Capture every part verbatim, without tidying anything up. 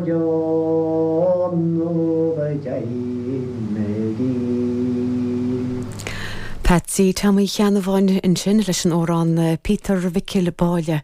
Go deimhin Patsy Tom Uí Cheannabháin ansin leis an amhrán Peter Mhicil Báile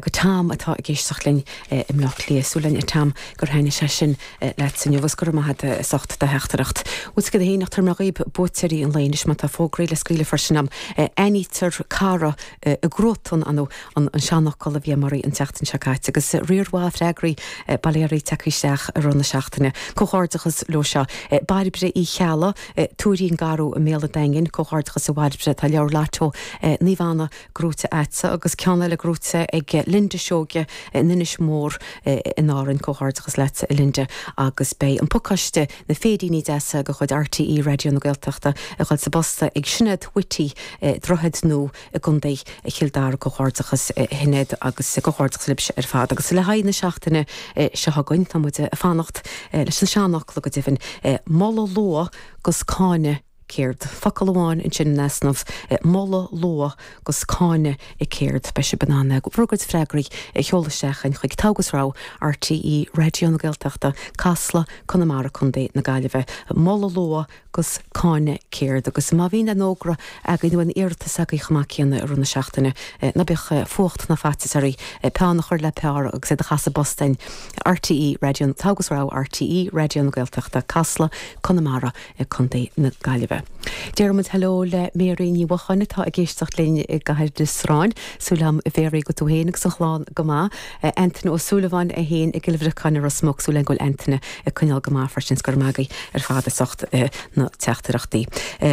go Tom atá ag éisteacht linn i mBleá Cliath súil againn a Tom gur thaitin sé sin leat inniu agus go raibh maith agat as ucht do theachtaireacht. Bhuel go héineach tar dhaoib buaiteoirí an lae anois má tá fógraí le scaoileadh freisin am Aithnítear cara i gcruatan an an seanfhocal a bhí mar an tseachtain seo caite agus riar mhaith freagraí bailéirí tagtha isteach i rith na seachtaine. Comhghairdeachas leo seo Bairbre Uí Chealla Tuairín Garú i mBéal an Daingin comhghairdeachas a Bhairbre tá leabhar lotto Naomh Anna gnóite agatsa agus ceann eile gnóite ag Linda Seoige in Inis Mór in Árainn comhghairdeachas leat Linda agus beidh an pacáiste na féiríní deasa de chuid RTÉ Raidió na Gaeltachta a chur sa bpost ag Sinéad Whitty Droichead Nua i gContae Chill Dara comhghairdeachas Shinéad agus comhghairdeachas libhse ar fad agus le haghaidh na seachtaine seo chugainn tá muid ag fanacht leis an seanfhocal go deimhin moladh luath gus cáineadh céard. Focal amháin ansin in easnamh moladh luath gus cáineadh céard beidh sibh in ann bhur gcuid freagraí a sheoladh isteach chuig Togha 's Rogha RTÉ Raidió na Gaeltachta, Casla, Conamara Contae na Gaillimhe, moladh luath gus cáineadh céard agus má bhíonn an fhógra againn nó an iarratas agaibh chomh maith céanna i rith na seachtaine ná bíodh fuacht ná faitíos oraibh peann a chur le pár agus é a chur sa bpost chuig RTÉ Raidió Togha 's Rogha RTÉ Raidió na Gaeltachta Casla Conamara Contae na Gaillimhe. Deirimid hello le Mary Ní Bhocháin atá ag éisteacht linn i gCathair na Sráin, súil agam a Mhary go bhfuil tú féin agus an chlann go maith. Antaine Ó Súilleabháin é féin i gCill Bhriocáin Ros Muc súil agam go bhfuil Antaine ag coinneáil go maith freisin go raibh maith agaibh ar fad as ucht na teachtaireachtaí.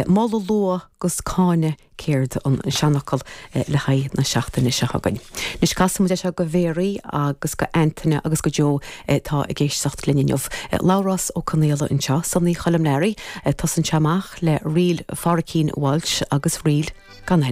Moladh luath gus cáineadh céard an seanfhocal le haghaidh na seachtaine seo chugainn. Anois casfaidh muid seo go Mary agus go Antaine agus go Joe tá ag éisteacht linn inniu. Labhrás Ó Conaola anseo, Sonaí Choilm Learaí, tosaíonn sé amach le ríl Phádraicín Walsh agus ríl gan